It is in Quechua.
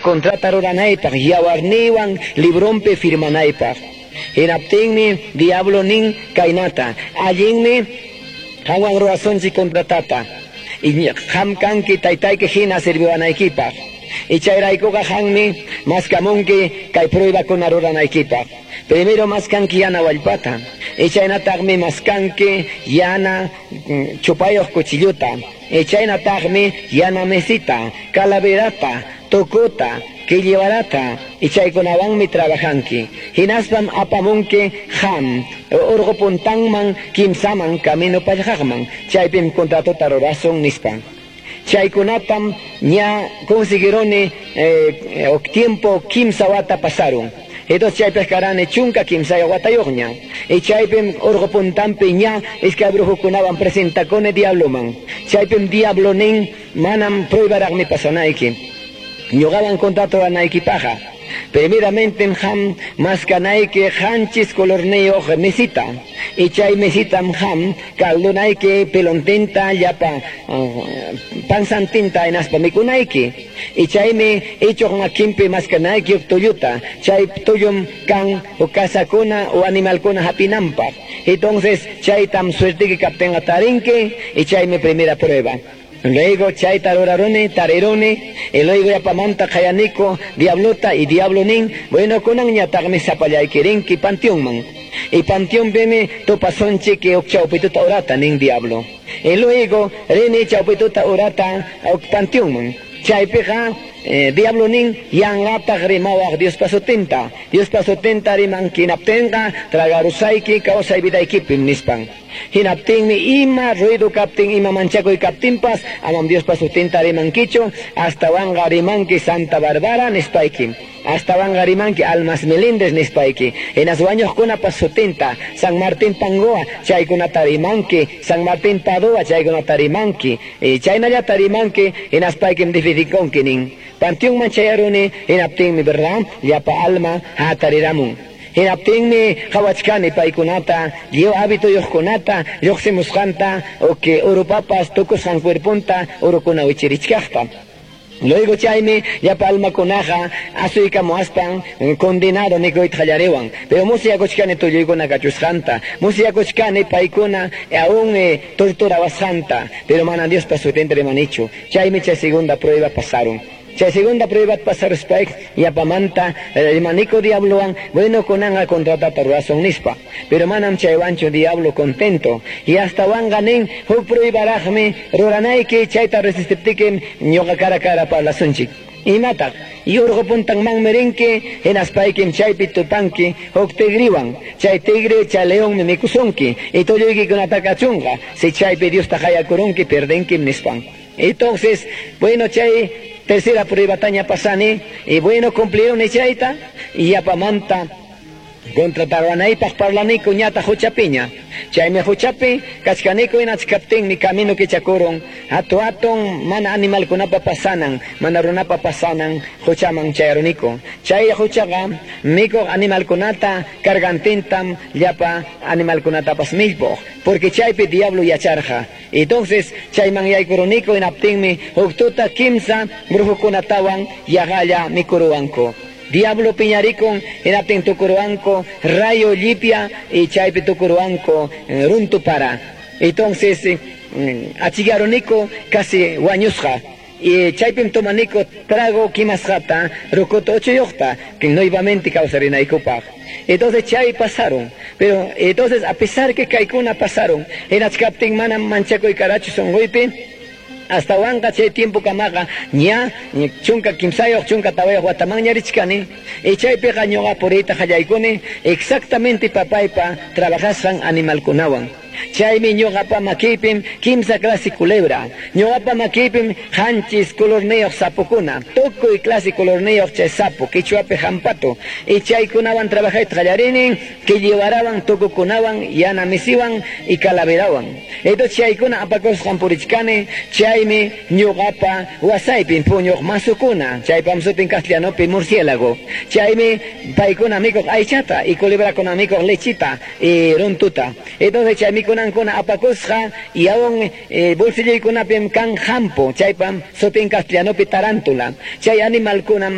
Contrata ruranaypaq, yawarniywan librompi firmanaypaq. Hinaptinmi diablo nin kaynata: "Allinmi, qanwan rurasunchik contratata. Qam kanki taytayki hina sirviwanaykipaq. Y chayraykuqa qammi maskamunki kay pruebakuna ruranaykipaq. Primero maskanki yana wallpata. Y chaynataqmi maskanki yana chupayuq cuchilluta. Y chaynataqmi yana mesita, calaverata, tukuta, quilliwarata, y chaykunawanmi trabajanki. Hinaspam apamunki qam urqu puntanman kimsaman camino pallqaqman. Chaypim contratota rurasun", nispa. Chaykunatam ña conseguironi, tiempo 3 wata pasaron. Entonces chaypaq karani 13 watayuqña. Y chaypim urqu puntanpi ña iskay brujukunawan presentakuni diabloman. Chaypim diablo nin: "Manam, pruebaraqmi pasanayki. Ñuqawan contrato ruranaykipaqa. Primeramente qam maskanayki 7 colorniyuq mesita. Y chay mesitam qam caldunayki pelontinta, llapa pansantinta, hinaspa mikunayki. Y chaymi ichuq makinpi maskanayki huk tulluta. Chay tullum kan kasakuna o animalkuna hapinanpaq. Entonces chaytam suertiki kaptinqa tarinki y chaymi primera prueba". Luego chayta ruraruni, tariruni, y luego yapamanta qayaniku diablota y diablo nin: "Bueno, kunanñataqmi sapallayki rinki panteonman. Y panteonpimi tupasunchik huk chawpituta horata", nin diablo. Y luego rini chawpituta horata huk panteonman. Chaypiqa diablo nin: "Yanqataq rimawaq Diospa sutinta. Diospa sutinta rimanki hinaptinqa tragarusayki kawsay vidaykipim", nispan. "Hinaptinmi ima ruido kaptin, ima manchakuy kaptinpas, amam Diospa sutinta rimankichu, astawanqa rimanki Santa Bárbara nispayki. Astawanqa rimanki Almas Melindres nispayki. Hinas wañuqkunapa sutinta, San Martín Pangoa, chaykunata rimanki, San Martín Padua, chaykunata rimanki. Y chaynallata rimanki, hinaspaykim difidikonki", nin. Panteonman chayaruni, hinaptinmi, verdad, llapa alma hatariramun. Hinaptinmi qawachkani paykunata, lliw habituyuqkunata lluqsimusqanta, o que urupapas tukusqan cuerponta urukuna wichirichkaqta. Luego chaymi llapa almakunaqa asuykamuaspan "condenado" nikuyta qallariwan. Pero musyakuchkani tulluykuna kachusqanta, musyakuchkani paykuna aún torturawasqanta, pero mana Diospa sutinta rimanichu. Chaymi chay segunda prueba pasaron. Chay segunda prueba pasaruspay yapamanta rimaniku diablowan: "Bueno, kunanqa contratata rurasun", nispa. Pero manam chaywanchu diablo contento. Y astawanqa nin: "Huk pruebaraqmi ruranayki, chayta resistiptikim ñuqa cara cara parlasunchik". "Imataq?" "Y urqu puntanmanmi rinki, hinaspaykim chaypi tupanki huk tigriwan. Chay tigre, chay leonmi mikusunki y tulluykikunata kachunqa. Si chaypi Diosta qayakurunki, perdenkim", nispan. Entonces, bueno, chay tercera pruebataña pasani y, bueno, cumplieron chayta y yapamanta contrataruanaypaq parlaniku ñata huchapiña. Chaymi huchapi kachkaniku hinachkaptinmi camino kichakurun hatu hatun, mana animalkunapa pasanan, mana runapa pasanan huchaman chayaruniku. Chay huchaqa mikuq animalkunata cargantintam, llapa animalkunatapas millpuq, porque chaypi diablo yacharqa. Entonces chayman yaykuruniku, hinaptinmi huk tuta kimsa brujukunatawan yaqalla mikuruwanku. Diablo piñarikun, hinaptin tukuruwanku rayo llipia y chaypi tukuruwanku runtu para. Entonces achigaruniku casi wañusqa. Y chaypim tomaniku trago kimasqata, rocoto 8 yuqta, que nuevamente kawsarinaykupaq. Entonces chay pasaron. Pero entonces, a pesar que kaykuna pasaron, hinachkaptin manam manchakuy karachu sunquypi. Astawanqa chay tiempo kamaqa ña 13, 14 watamanña richkani. Y chaypiqa ñuqa puriyta qallaykuni exactamente papaypa trabajasqan animalkunawan. Chaymi ñuqapa makiypim kimsa clase culebra, ñuqapa makiypim 7 colorniyuq sapukuna, tukuy clase colorniyuq chay sapo, quichuapi hampatu. Y chaykunawan trabajayta qallarini, quilliwarawan, tukukunawan, yana misiwan y calaverawan. Entonces chaykuna apakusqan purichkani. Chaymi ñuqapa wasaypim puñuq masukuna, chaypam sutin castellanopi murciélago. Chaymi paykuna mikuq aychata y culebrakuna mikuq lechita y runtuta. Entonces chay mikunankuna apakusqa y aún bolsilloykunapim kan hampu, chaypam sutin castellanopi tarántula. Chay animalkunam